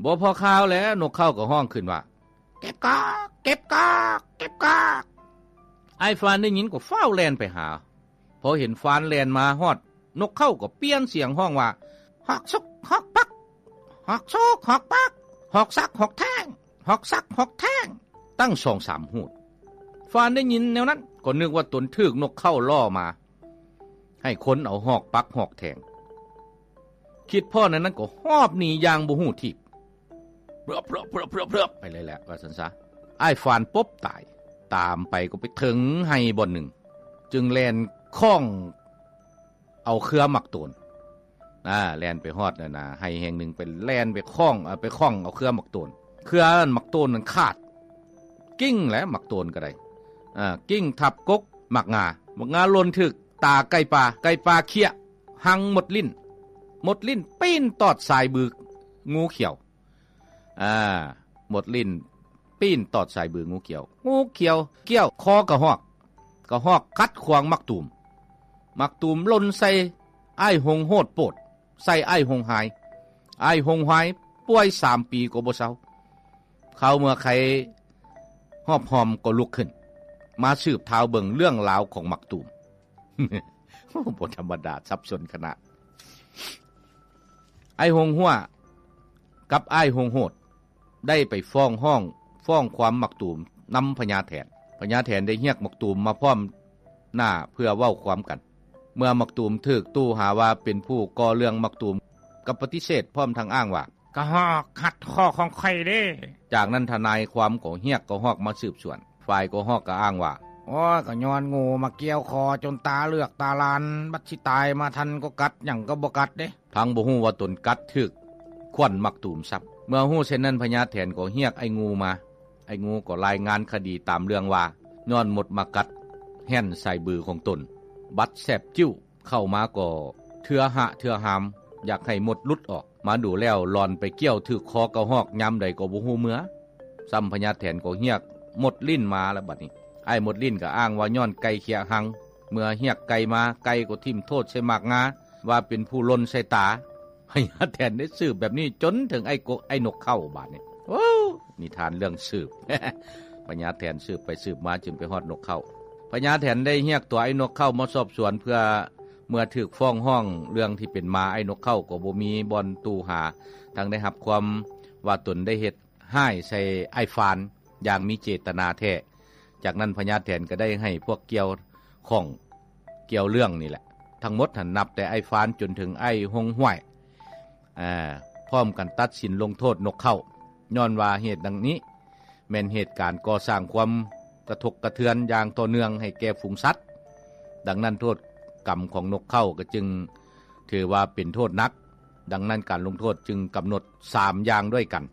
ບໍ່ພໍຄາວແລ້ວ ນົກເຂົາກໍຮ້ອງຂຶ້ນວ່າ ເກັບກອກ ເກັບກອກ ເກັບກອກ. ອ້າຍຟານໄດ້ຍິນກໍຟ້າວແລ່ນໄປຫາ. ພໍເຫັນຟານແລ່ນມາຮອດ, ນົກເຂົາກໍປ່ຽນສຽງຮ້ອງວ່າ ຮອກສຸກຮອກປັກ ຮອກສຸກຮອກປັກ ຮອກສັກຮອກແທງ ຮອກສັກຮອກແທງ ຕັ້ງສອງສາມຫູດ. ຟານໄດ້ຍິນແນວນັ້ນ ກໍນຶກວ່າຕົນຖືກນົກເຂົາລໍ້ມາ ໃຫ້ຄົນເອົາຮອກປັກຮອກແທງ. ຄິດພໍ້ແນວນັ້ນກໍຫອບໜີຢ່າງບໍ່ຮູ້ທີບ ເພືອບ ເພືອບ ເພືອບ ເພືອບ ເພືອບ ໄປເລີຍແຫຼະ ວ່າຊັ້ນຊະ. ອ້າຍຟານປົບຕາຍ. ຕາມໄປກໍໄປເຖິງໄຮ່ບ່ອນໜຶ່ງ ຈຶ່ງແລ່ນຄ້ອງເອົາເຄືອໝາກໂຕນ. ອາ ແລ່ນໄປຮອດນັ້ນນະ ໄຮ່ແຫ່ງໜຶ່ງ ໄປແລ່ນໄປຄ້ອງ ເອົາ ໄປຄ້ອງເອົາເຄືອໝາກໂຕນ. ເຄືອໝາກໂຕນນັ້ນຂາດ ກິ້ງແຫຼະ ໝາກໂຕນກໍໄດ້ ອາ ກິ້ງທັບກົກໝາກງາ ໝາກງາຫຼົ່ນຖືກຕາໄກ່ປ່າ ໄກ່ປ່າເຄຍ ຫັງໝົດລີ້ນ ໝົດລີ້ນປີ້ນຕອດສາຍບືງູຂຽວ. ອາ ໝົດລີ້ນປີ້ນຕອດສາຍບືງູຂຽວ ງູຂຽວກ່ຽວຄໍກະຮອກ ກະຮອກກັດຂວາງໝາກຕູມ ໝາກຕູມຫຼົ່ນໃສ່ອ້າຍຫົງໂຫດໂປດ ໃສ່ອ້າຍຫົງຫາຍ ອ້າຍຫົງຫາຍປ່ວຍສາມປີກໍບໍ່ເຊົາ. ຄາວເມື່ອໄຄຮອບຫອມກໍລຸກຂຶ້ນ ມາສືບທາວເບິ່ງເລື່ອງລາວຂອງໝາກຕູມ. ໂອ້ ບໍ່ທຳມະດາ ສັບສົນຂະໜາດ. ອ້າຍຫົງຫົວກັບອ້າຍຫົງໂຫດ ໄດ້ໄປຟ້ອງຮ້ອງ ຟ້ອງຄວາມໝາກຕູມນຳພະຍາແຖນ. ພະຍາແຖນໄດ້ຮຽກໝາກຕູມມາພ້ອມໜ້າເພື່ອເວົ້າຄວາມກັນ. ເມື່ອໝາກຕູມຖືກຕູຫາວ່າເປັນຜູ້ກໍ່ເລື່ອງ ໝາກຕູມກໍປະຕິເສດ ພ້ອມທັງອ້າງວ່າ ກະຮອກຂັດຂໍ້ຂອງຂ້ອຍເດ້. ຈາກນັ້ນທະນາຍຄວາມກໍຮຽກກະຮອກມາສືບສວນ. ຝ່າຍກະຮອກກໍອ້າງວ່າ ໂອ້ຍ ກະຍ້ອນງູມາກ່ຽວຄໍຈົນຕາເລືອກຕາລານ ບັດຊິຕາຍມາທັນກໍກັດ ຫຍັງກໍບໍ່ກັດເດ້. ທັງບໍ່ຮູ້ວ່າຕົນກັດຖືກຂວັນໝາກຕູມຊ້ຳ. ເມື່ອຮູ້ເຊັ່ນນັ້ນ ພະຍາແຖນກໍຮຽກອ້າຍງູມາ. ອ້າຍງູກໍລາຍງານຄະດີຕາມເລື່ອງວ່າ ຍ້ອນມົດມາກັດແຫ້ນສາຍບືຂອງຕົນ ບັດແສບຈິ້ວ ເຂົ້າມາກໍເທື່ອຫະເທື່ອຫາມ ຢາກໃຫ້ມົດຫຼຸດອອກ. ມາດູແລ້ວ ຫຼອນໄປກ່ຽວຖືກຄໍກະຮອກຍາມໃດກໍບໍ່ຮູ້ເມື່ອ. ຊ້ຳພະຍາແຖນກໍຮຽກມົດລີ້ນມາແລ້ວບັດນີ້. ອ້າຍມົດລີ້ນກໍອ້າງວ່າຍ້ອນໄກ່ເຄຍຫັງ. ເມື່ອຮຽກໄກ່ມາ ໄກ່ກໍຖິ້ມໂທດໃສ່ໝາກງາ ວ່າເປັນຜູ້ຫຼົ່ນໃສ່ຕາ. ພະຍາແຖນໄດ້ສືບແບບນີ້ຈົນເຖິງອ້າຍກົກ ອ້າຍນົກເຂົາບາດນີ້. ໂອ້ ນິທານເລື່ອງສືບ ພະຍາແຖນສືບໄປສືບມາຈຶ່ງໄປຮອດນົກເຂົາ. ພະຍາແຖນໄດ້ຮຽກຕົວອ້າຍນົກເຂົາມາສອບສວນ ເພື່ອເມື່ອຖືກຟ້ອງຮ້ອງເລື່ອງທີ່ເປັນມາ ອ້າຍນົກເຂົາກໍບໍ່ມີບ່ອນຕູ່ຫາ ທັງໄດ້ຮັບຄວາມວ່າຕົນໄດ້ເຮັດຮ້າຍໃສ່ອ້າຍຟານຢ່າງມີເຈດຕະນາແທ້. ຈາກນັ້ນພະຍາແຖນກໍໄດ້ໃຫ້ພວກກ່ຽວຂ້ອງກ່ຽວເລື່ອງນີ້ແຫຼະ ທັງໝົດຫັ້ນ ນັບແຕ່ອ້າຍຟານຈົນເຖິງອ້າຍຫົງຫ້ວຍ ອາ ພ້ອມກັນຕັດສິນລົງໂທດນົກເຂົາ ຍ້ອນວ່າເຫດດັ່ງນີ້ ແມ່ນເຫດການກໍ່ສ້າງຄວາມກະທົກກະເທືອນຢ່າງຕໍ່ເນື່ອງໃຫ້ແກ່ຝູງສັດ. ດັ່ງນັ້ນໂທດກຳຂອງນົກເຂົາກໍຈຶ່ງຖືວ່າເປັນໂທດໜັກ. ດັ່ງນັ້ນການລົງໂທດຈຶ່ງກຳນົດສາມຢ່າງດ້ວຍກັນ.